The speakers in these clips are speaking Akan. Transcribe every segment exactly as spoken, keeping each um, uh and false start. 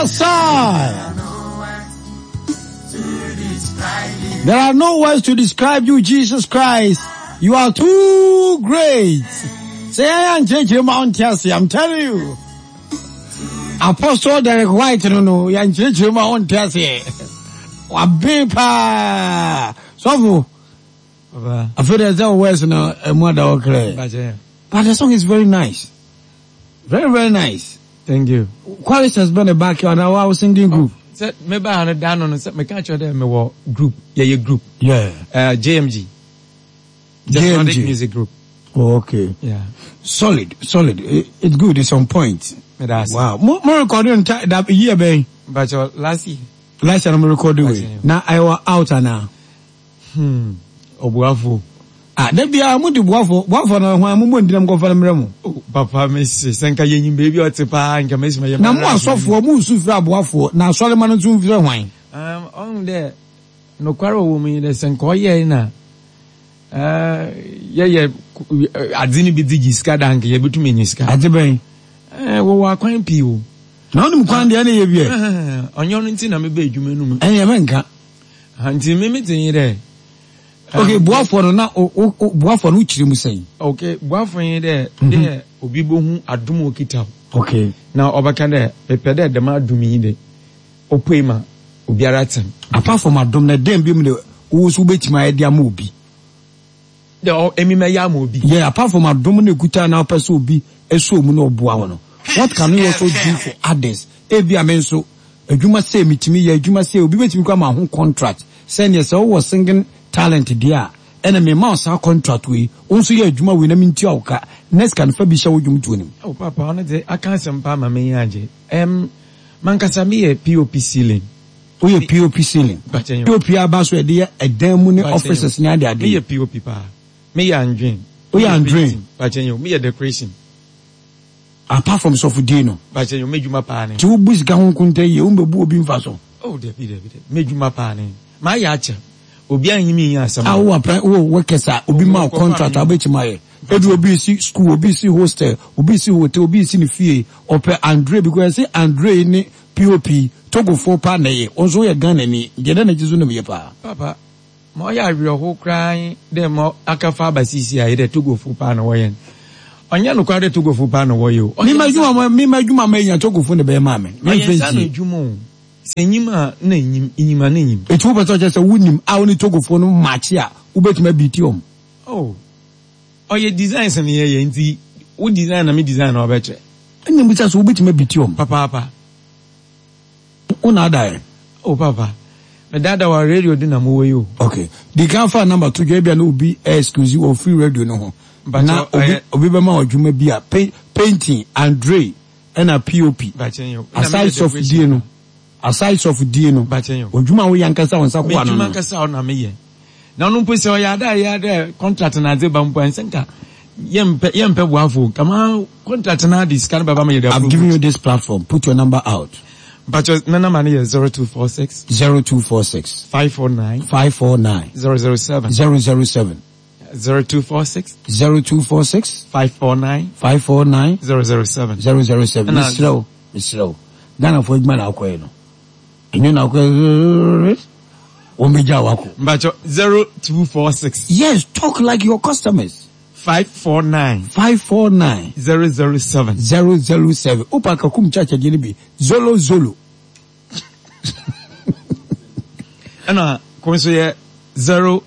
Yes, sir. There are no words to describe you, Jesus Christ. You are too great. Say, I am J J Mount, I'm telling you. Apostle Derek White, no, no, yan J J Mount, Wabe pa. So, I feel there's no words no But the song is very nice. Very, very nice. Thank you. Chorus has been a back on our singing group. Sɛ meba no da no no sɛ meka kyerɛ dɛ mewɔ group, yɛyɛ group. Yeah. Uh, J M G. J M G. Music Group. Oh, okay. Yeah. Solid, solid. It, it's good. It's on point. Wow. More, more recording that year, ben. But uh, last year. Last year I'm recording. With. Now I was out now. Hmm. Obuafo. Ah, there be a muti buafo. Buafo na hwan mo ndi na mko fa mremo. Oh, papa me se senka yenyi baby otipa nka me se Na mo asofo mo nsu fira buafo na asore ma no nsu fira hwan. Um on there no kwaro wo mi de senka oye na eh ye ye ade ni bi digi sika dank ye betumi nyi sika. Ade ben. Eh wo wa kwan pi o. Na onim kwan de na ye bi e. Onyo no nti na me ba adwuma no mu. Eh ye menka. Nti me metin de. Okay, buafo no na buafo no chiri mu sen. Okay, buafo yin de de obi bohu adom okita. Okay. Na obaka de pepe de de ma adom yi de opoi ma obi ara tem. Apart from adom na dem bi mu de wo so betima ye de ama obi. De o emi me ya ma obi. Yeah, apart from adom na ekuta na opese obi eso mu na oboa wo no. What can we also do for others? Ebi amenso adwuma se mitimi ye adwuma se obi betimi kwa ma ho contract. Send yourself was singing talent dear, and me mouse our contract we also ye juma we na minti oka next can fa bi hye wodwum to nim. Oh papa on de aka sempa ma me anje em mankasa me ye P O P ceiling. O ye P O P ceiling. P O P aba so e de edan mu ne offices ne ade ade. Me ye P O P pa. Me ye andwen. O ye andwen. Ba chenyo me ye decoration. Apart from sofudi no. Ba chenyo me juma pa ne. Ti wo bu sika ho kunta ye wo mbebu obi mfa so. Oh de bi de bi de. Me juma pa ne. Ma ya acha. Obi anyi mi asam. Awo apra wo workers a obi ma contract abetima ye. Edu obi si school, obi si hostel, obi si hotel, obi si ni fie. Ope Andre because say Andre ni P O P Togo fo pa na ye. Onso ye Ghana ni. Ngede na jizu no ye pa. Papa, mo ya wi ho kran de mo akafa basisi ayi de Togo fo pa na wo ye. Onye no kwa de Togo fo pa na wo ye o. Mi ma dwuma mi ma dwuma ma nya Togo fo ne be ma me. Mi fe dwuma o. Senyima na enyim enyima na enyim. Etu wo beto che wunim a woni Togofo no match a wo betuma biti om. Oh. Oye designs na ye ye nti wo design na me design na obeche. Enyim bi so wo betuma biti om. Papa papa. Wo na ada. Oh papa. Me dada wa radio do na mo wo yo. Okay. The can fa number two dwa bia na obi excuse or free radio no ho. Na obi obi be ma odwuma bi a painting Andre na P O P. Aside of die no. Aside of die no. Odwuma wo yankasa won sako ano. Odwuma nkasa wo na me ye. Na no mpo se o ya da ya da contract na ze ba mpo ensenka ye mpe ye mpe boafo. Kama contract na this kan baba me ye. I've given you this platform. Put your number out. But your number is zero two four six zero two four six five four nine five four nine zero zero seven zero zero seven zero two four six zero two four six five four nine five four nine zero zero seven zero zero seven. Slow, slow. Ghana for man akwa no. Enyo na akwa wo meja wako. But zero two four six. Yes, talk like your customers. five four nine five four nine zero zero seven zero zero seven. Opa kakum chacha jini bi zolo zolo. Ana konso ye zero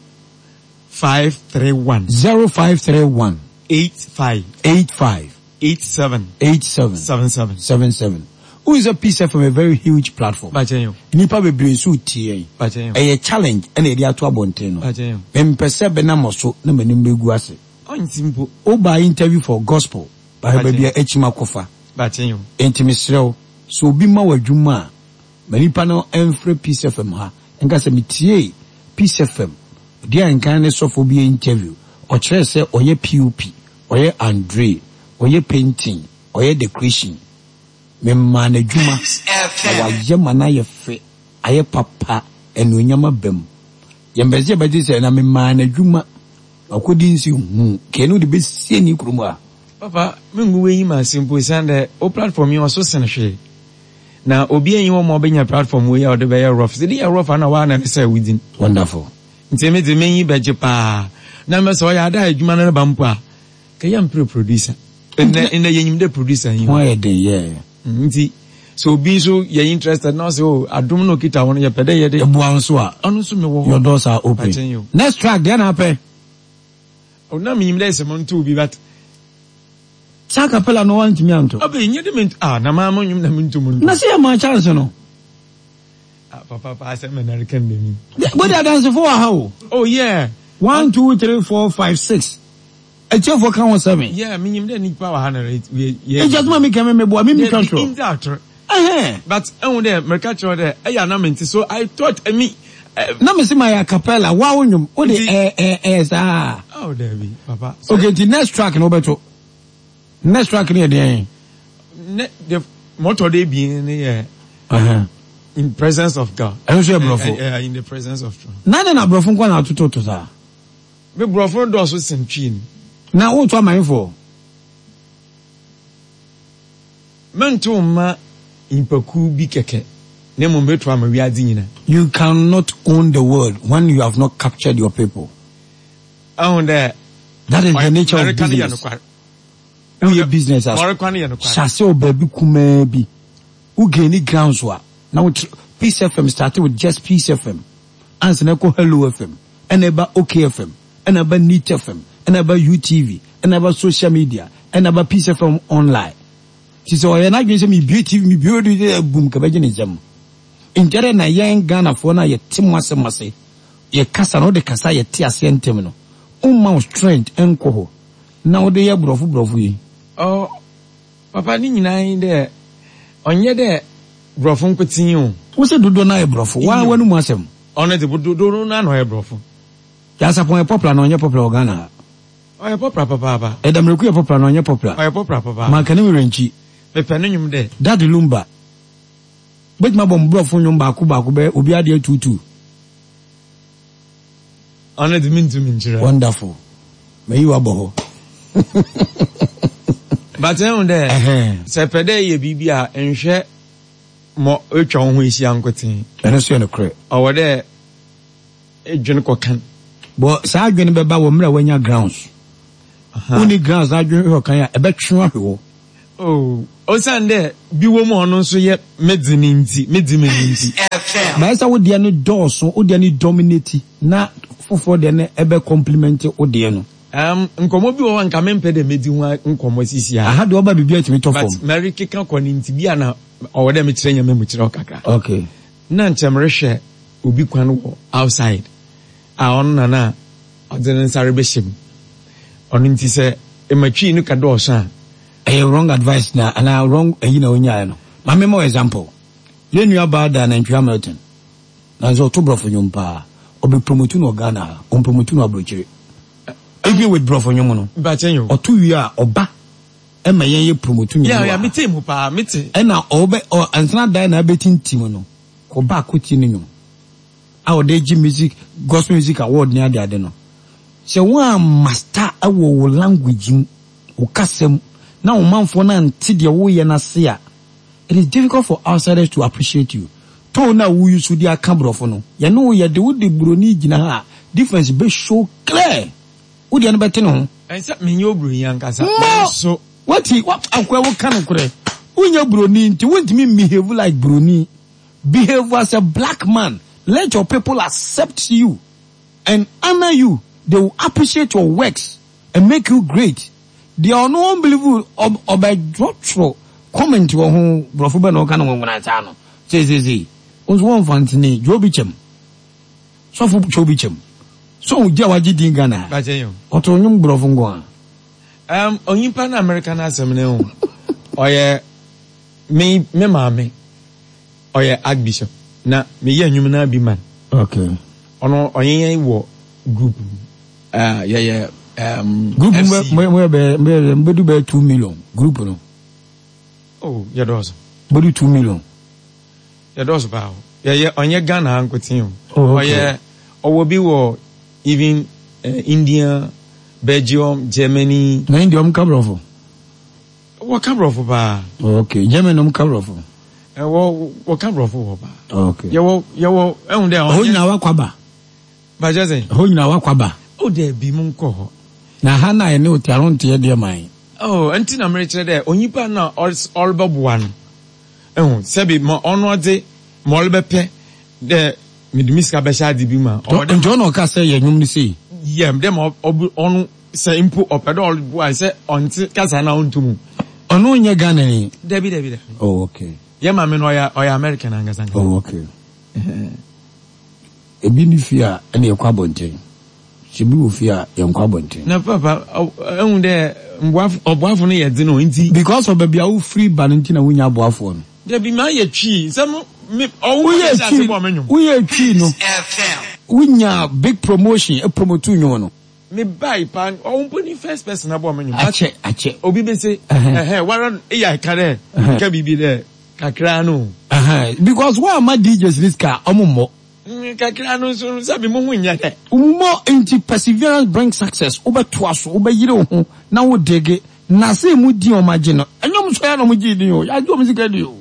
five three one zero five three one eight five eight five eight seven eight seven seven seven seven seven. Who is a Peace F M, a very huge platform. Nipa bebree so tie. A challenge and a dia to abonte no. Mempese be na moso na manim begu ase. Oba interview for gospel by baby echima kofa. Enti mesrew so obi ma wadwuma a manipa no emfre Peace F M ha. Nka se metie Peace F M. Dia nkan ne sofo bi interview. O kire se oye P O P, oye Andre, oye painting, oye decoration. Me ma na dwuma na waye ma na ye fe aye papa enu bem. Yembeze be se na me ma na dwuma akodi nsi hu ke no de besie ni krumu a. Papa, me ngu we ma simple sande o platform yi oso sen hwe. Na obi enyi hɔ ma ɔbɛnya platform wei a ɔde bɛyɛ rough. Sɛ de yɛ rough a na waa na ne sɛ within. Wonderful. Nti me de menyi bɛgye paa. Na mɛ sɛ ɔyɛ ada adwuma no reba mpo a, kɛyɛ mpere producer. Nnɛ nnɛ yɛnyim dɛ producer yi. Ho ayɛ den yɛ. Nti sɛ obi nso yɛ interested na ɔsɛ o adom na okita ho no yɛpɛ dɛ yɛde. Ɛboa nso a. Ɔno nso mewɔ hɔ. Your doors are open. Next track deɛ na apɛ. O na menyim dɛ sɛ monto bi but. Saa capella no wantumi anto. Ɔbɛ nye de me ah na maa mo nwom na mento mu nto. Na sɛ yɛ maa chance no. Ah papa pa asɛm na nareka ndɛ mi. Bode adansefo wɔ ha o. Oh yeah. One two three four five six. Etiefo ka ho seven. Yeah, menyim dɛ nipa wɔ ha na yɛ. Eja suma mi kɛmɛ meboa mi mi twa twerɛ. Nti atoro. But ɛhu dɛ mɛka kyerɛ dɛ ɛyɛ anam nti so I thought ɛmi. Na me se ma yɛ acapella wa wo nwom o de ɛ ɛ ɛ saa. Oh dabi papa. Okay nti next track na wobɛto. Next track ne yɛ deɛn? Ne the mɔtɔ de ebien ne yɛ. Uh-huh. In presence of God. Ɛno nso yɛ borɔfo. In the presence of God. Na ne na borɔfo nko na atototo saa. Me borɔfo no dɔɔso sen twi no. Na woto amanfoɔ. Mento mma nnipakuw bi kɛkɛ, na mmom meto ama wiadze nyina. You cannot own the world when you have not captured your people. Ahu dɛ. That is the nature of business. Woyɛ business as hyɛ wɔ baabi kumaa bi. Wo gain grounds a na wo Peace F M started with just Peace F M. Ansa na ɛkɔ Hello F M, ɛna ɛba OK F M, ɛna ɛba Neat F M, ɛna ɛba U T V, ɛna ɛba social media, ɛna ɛba Peace F M online. Ti sɛ ɔyɛ n'adwene sɛ mebie T V, mebie radio, boom kabɛgye ne nsam. Nkyɛrɛ na yɛn Ghanafoɔ no a yɛte mo asɛm ase, yɛ kasa na wode kasa yɛte aseɛ ntɛm no, womma wo strength nkɔ hɔ na wode yɛ borɔfo borɔfo yi. Oh, papa ne nyinaa yi dɛ ɔnyɛ dɛ borɔfo nkotsee o. Wo sɛ dodoɔ no ayɛ borɔfo, waa w'anomu asɛm. Ɔno de dodoɔ no ano ɔyɛ borɔfo. Nyansapɔn yɛ popular na ɔnyɛ popular wɔ Ghana ha? Ɔyɛ popular papaapa. Ɛdamiriku yɛ popular na ɔnyɛ popular? Ɔyɛ popular papaapa. Mankani Werɛnkyi. Mepɛ ne nnwom dɛ. Daddy Lumba. Bɛtumi abɔ mborɔfo nnwom baako baako bɛyɛ obi adeɛ tuutu. Ɔno de mentumi nkyerɛ. Wonderful. Mayi wabɔ hɔ. But ɛhu dɛ sɛ pɛ dɛ yɛ biribi a nhwɛ mɔ etwa wo ho ahyia nkotsee. Ɛno nso yɛ nokorɛ. Ɔwɔ dɛ edwene kɔkan. Bɔ saa adwene bɛba wɔ mmerɛ a wanya grounds. Wonni grounds na adwene hwɛ ɔkan a ɛbɛtwe ahwe hɔ. Oh, osiane dɛ bi wɔ mu a ɔno nso yɛ medze ne nti, medze me ne nti. Bɛyɛ sɛ wo deɛ no dɔɔso, wo deɛ no dominate na foforɔ deɛ no ɛbɛ complement wo deɛ no. Um, nkɔmmɔ bi wɔ hɔ a nka mempɛ dɛ medi ho nkɔmmɔ sisi a. Aha deɛ ɔba biribi atumi tɔ fam. But mɛrekeka kɔ ne nti bi a na ɔwɔ dɛ mekyerɛ nyame mu kyerɛ wo kakra. Okay. Na nkyɛ merehwɛ obi kwan wɔ outside a ɔno na na ɔde ne nsa rebɛhyɛ mu. Ɔno nti sɛ ɛmatwi no ka dɔɔso a. Ɛyɛ wrong advice na anaa wrong ɛyi na onyaeɛ no. Ma me mo example. Yɛn nua baa da Nantwi Hamilton. Na nso ɔto borɔfo nnwom paa. Ɔbɛ promote no wɔ Ghana ha. Ɔmpromote no aburokyire. Even with borɔfo nnwom no. Mpakyɛ yo. Ɔto wie a ɔba ɛma yɛn yɛ promote nnwom Yeah, yeah, mete mu paa, mete. Ɛna ɔbɛ ɔ ansana dan na abɛtintim no. Kɔba akɔtie ne nnwom. A ɔde gye music gospel music award ne ade ade no. Sɛ wɔn a master ɛwɔ wo language mu, wo kasa mu, na wo manfoɔ no ante deɛ woyɛ no ase a, it is difficult for outsiders to appreciate you. Tone na wo use de aka borɔfo no, yɛne wo yɛde wo de buroni gyina ha a, difference bɛ show clear. Wo deɛ no bɛte ne ho. Ɛnsɛ menyɛ oburoni ankasa. Mo! Nanso. Wati, wa akoa wo ka no korɛ. Wonyɛ buroni nti wontumi behave like buroni. Behave as a black man. Let your people accept you and honor you. They will appreciate your works and make you great. Deɛ ɔno unbelievable ɔbɛdwɔtwerɛ comment wɔ ho borɔfo bɛ na ɔka no nwonwona saa no. Seesei nso wɔmfa ntene dwo bi kyɛm. Sɔfo twɛ obi kyɛm. So ogye a wagye din Ghana. Mpakyɛ yo. Ɔto nnwom borɔfo nko a. Um, onyimpa na America na asɛm ne ho. Ɔyɛ me me maame. Ɔyɛ archbishop. Na meyɛ nnwom na bi man. Okay. Ɔno ɔyɛ yɛn wɔ group mu. Uh, yɛyɛ um, group F C. Mo mo bɛ mo bɛ du bɛ two million group no. Oh, yɛdɔɔso. Bɛ du two million. Yɛdɔɔso paa o. Yɛyɛ ɔnyɛ Ghana ha nkotsee o. Oh, okay. Ɔyɛ ɔwɔ bi wɔ even uh, India, Belgium, Germany. Na India ɔmo ka borɔfo? Wɔka borɔfo paa. Oh, okay. Germany ɔmo ka borɔfo? Wɔ wɔka borɔfo wɔ paa. Okay. Yɛwɔ yɛwɔ ɛhu dɛ. Ɛhɔ nyinaa wakɔ aba. Bàjẹ́ sɛ. Ɛhɔ nyinaa wakɔ aba. O dɛ bi mu nkɔ hɔ. Na ha na yɛne o te ano nteɛ deɛ man. Oh, nti na merekyerɛ dɛ onipa na ɔrebɛboa no. Ɛhu sɛbi ma ɔno ɔdze ma ɔrebɛpɛ dɛ mede mi sika bɛhyɛ ade bi mu a. Nti ɔna ɔka sɛ yɛ nnwom no sei. Yɛ dɛ ma ɔno sɛ mpo ɔpɛ dɛ ɔreboa sɛ ɔnte kasa na ɔnto mu. Ɔno nyɛ Ghana ni. Dabi dabi dabi. Oh, okay. Yɛ maame no ɔyɛ ɔyɛ American ankasa. Oh, okay. Ebi ni fie a ɛna yɛkɔ abɔnten. Sɛ bi wɔ fie a yɛnkɔ abɔnten. Na papa ɛhu dɛ mboafo ɔboafo no yɛ dzen o nti. Because of baabi a wofiri ba no nti na wonya aboafoɔ no. Dabi maa yɛ twi nsɛm me ɔwo yɛ twi woyɛ twi no wonya big promotion e promote nnwom no. Me bai pa ɔwo mpo ni first person abɔ me nnwom. Akyɛ akyɛ. Obi bɛ se ɛhɛn wara eya ka dɛ ka biribi dɛ kakra no. Because wɔn ama D Js ni sika, ɔmo mmɔ. Kakra no nso sɛbi mo ho nyɛ dɛ. Mmɔ nti perseverance brings success. Wobɛtoa so, wobɛyere wo ho na wo dege na se mu di ɔmo agye no, ɛnyɛ ɔmo so yɛ na ɔmo gye din o, yɛagye ɔmo sika di o.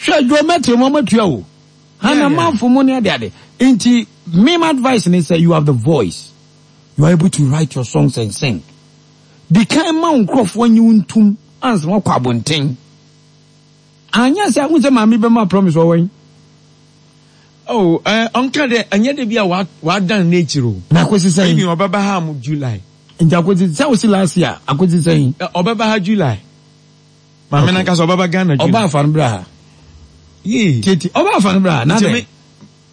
Hwɛ, Geometry mo ɔmo atua o, hana manfo mo ne ade ade. Nti me my advice ne sɛ you have the voice, you are able to write your songs and sing. Di kan ma wo nkurɔfoɔ nye wo ntum ansa wakɔ abɔnten. Anyɛ sɛ wo sɛ maame bɛma promise wɔwɔ yi. Oh, eh, ɔnka dɛ ɛnyɛ de bi a wadan n'ekyir o. Na akosi sɛn? Ebi ɔbɛba ha mu July. Nti akosi sɛ wosi last year, akosi sɛn? Ɔbɛba ha July. Maame nankasa ɔbɛba Ghana July. Ɔba afa no bra ha. Yee. Titi ɔba afa no bra ha na dɛ.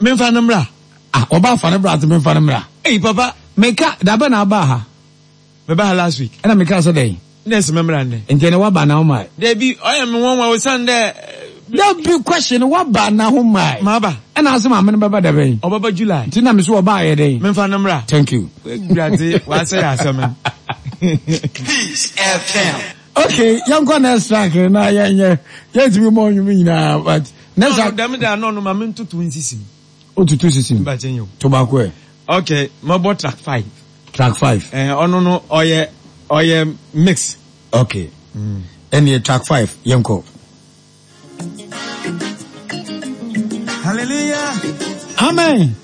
Memfa no mbra. Ah, ɔba afa no bra ati memfa no mbra. Eyi papa. Meka dabɛ na aba ha. Meba ha last week. Ɛna meka sɛ dɛn? Nurse membra nnɛ. Nti ɛnɛ waba na woma. Dabi, ɔyɛ me nwanwa osan dɛ. Dabi, question, waba na ho mae. Maba. Ɛna ase maame no bɛba dabɛn? Ɔbɛba July. Nti na me so ɔba ayɛ dɛn? Memfa no mbra. Thank you. Ewurade wasɛ yɛ asɛm no. Peace F M. Okay, yɛnkɔ next track na yɛnyɛ yɛntumi mmɔ nnwom nyinaa, but next track. Dɛm de ano no ma me ntoto nsisi mu. Wotutu sisi mu. Mbakyɛ nyɛ o. To baako ɛ. Okay, mɛbɔ track five. Track five. Ɛɛ, ɔno no ɔyɛ ɔyɛ mix. Okay. Ɛnneɛ track five, yɛnkɔ. Hallelujah. Amen.